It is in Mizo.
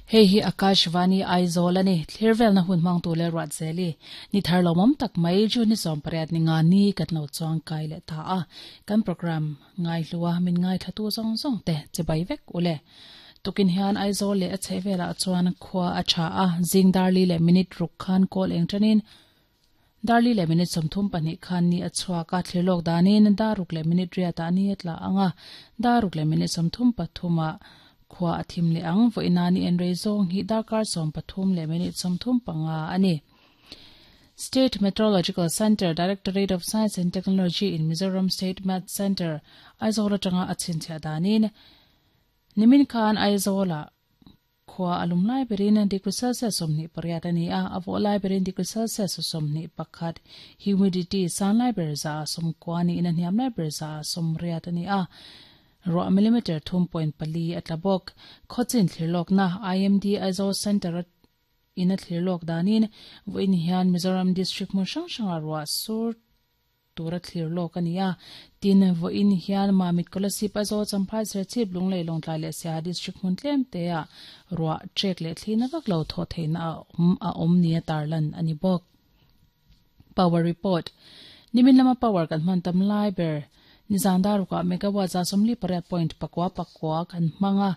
Hei hi Akashvani Aizawl a ni. Thlirvelna hun hmangtu leh Ruatzeli ni thar lawmawm tak mai June ni 18 ni nga ni kan lo chuang kai leh ta a. Kan programme ngaihlua min ngaithlatu zawng zawng te chibai vek u le. Tukin hian Aizawl leh a chhehvelah chuan khua a tha a, zing darli leh minute ruk khan kawl eng tanin darli leh minute 32 khan ni a chhuak a, thlirlawk danin daruk leh minute riatah ni a tla ang a, daruk leh minute 33 ah khua a thim leh ang. Vawiina ni en rei zawng hi darkar 13 leh minute 35 a ni. State Meteorological Centre, Directorate of Science and Technology in Mizoram State Met Centre, Aizawl atanga a chhinchhiah danin nimin khan Aizawlah khua a lum lai berin degree Celsius 28 a ni a, a vawh lai berin degree Celsius 21, humidity sang lai ber 90% niin a hniam lai ber 80% a ni a, ruah millimeter 3.4 a tla bawk. Khawchin thlirlawkna IMD Aizawl Centre in a thlirlawk danin vawiin hian Mizoram District hmun hrang hranga ruah sur tura thlir lawk a ni a. Tin, vawiin hian Mamit Kolasib Aizawl Champhai Serchhip Lunglei Lawngtlai leh Siaha District hmun tlem te ah ruah trek leh thli na vak lo thawh theihna a awm a awm nia tarlan a ni bawk. Power Report, Nimin lama power kan hman tam lai ber nizan darukah megawatt 48.99 kan hmang a.